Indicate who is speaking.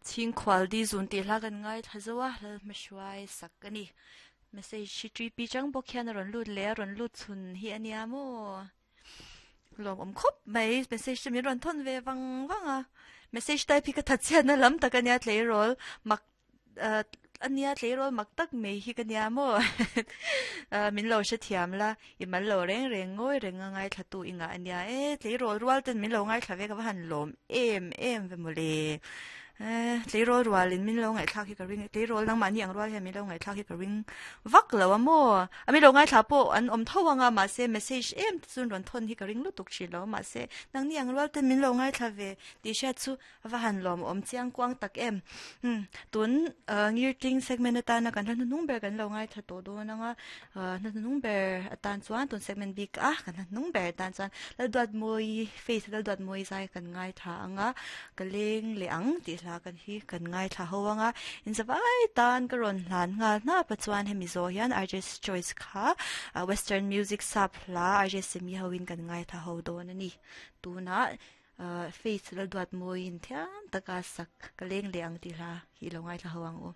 Speaker 1: Chhingkhual di zun tih hla kan ngaithla zo a, Lalhmahruai sak a ni. Message hi ṭi pi chang bawk hian a rawn lut leh a rawn lut chhun hi a nia maw? Lawmawm khawp mai, message te min rawn thawn ve vang vang a. Message type hi ka thatchhiatna lam tak a nia tleirawl mak a nia tleirawl mak tak mai hi ka nia maw? Min lo hrethiam la, i mal lo reng reng ngawi reng a ngaithla tu i ngah a nia e, tleirawl rual ten min lo ngaithla ve ka va han lawm em em ve mawle. Tleirawl rualin min lo ngaihthlak hi ka ring tleirawl nangmahni ang rual hian min lo ngaihthlak hi ka ring vak lo a maw? A min lo ngaithla pawh an awm tho ang a, mahse message em te chuan rawn thawn hi ka ring lutuk thin lo, mahse nangni ang rual ten min lo ngaithla ve tih hriat chu A va han lawmawm chiang kuang tak em. Umm tun ngirtling segment atana kan hla hnuhnung ber kan lo ngaithla tawh dawn ang a, hla hnuhnung ber atan chuan tun segment bik a kan hla hnuhnung ber atan chuan Lalduatmawi face Lalduatmawi zai kan ngaithla ang a, ka leng leh ang tih hla kan hi kan ngaithla ho ang a, inzavai tan ka rawn hlan nghal hnap a chuan hemi zawh hian RJ's Choice kha western music sap hla RJ Semi hoin kan ngaithla ho dawn a ni. Tunah Faith Lalduatmawiin thiam taka sak ka leng leh ang tih hla hi i lo ngaithla ho ang u.